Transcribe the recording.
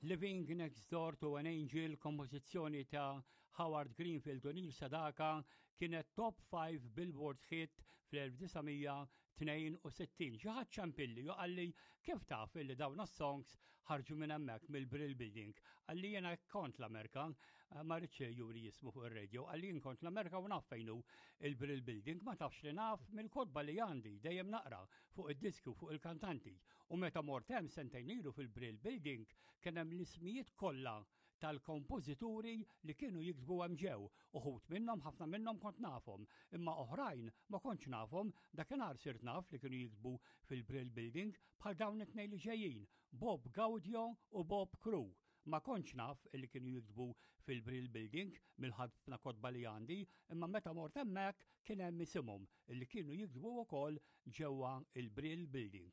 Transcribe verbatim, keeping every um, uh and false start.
Living Next Door to an Angel, kompożizzjoni ta' Howard Greenfield u Neil Sedaka, kienet top five Billboard hit fl-elf disa' mija tnejn u sittin. Xi ħadd ċempilli u qalli, "Kif taf illi dawn songs ħarġu minn hemmhekk mill-Brill Building?" Qalli, "Jiena kont l-Amerika," ma rridx juri jismu fuq ir-radio, qalli, "Jien kont l-Amerika u naf fejn hu il-Brill Building." Ma tafx li naf mill-kotba li għandi, dejjem naqra fuq id-diski u fuq il-kantanti. U meta mort hemm sentejn ilu fil-Brill Building, kien hemm l-ismijiet kollha tal-kompożituri li kienu jiktbu hemm ġew. Uħud minnhom, ħafna minnhom kont nafhom, imma oħrajn ma kontx nafhom, dakinhar sirt naf li kienu jiktbu fil-Brill Building, bħal dawn it-tnejn li ġejjin, Bob Gaudio u Bob Crew. Ma kontx naf li kienu jiktbu fil-Brill Building mill-ħafna kotba li għandi, imma meta mort hemmhekk kien hemm isimhom li kienu jiktbu wkoll ġewwa il-Brill Building.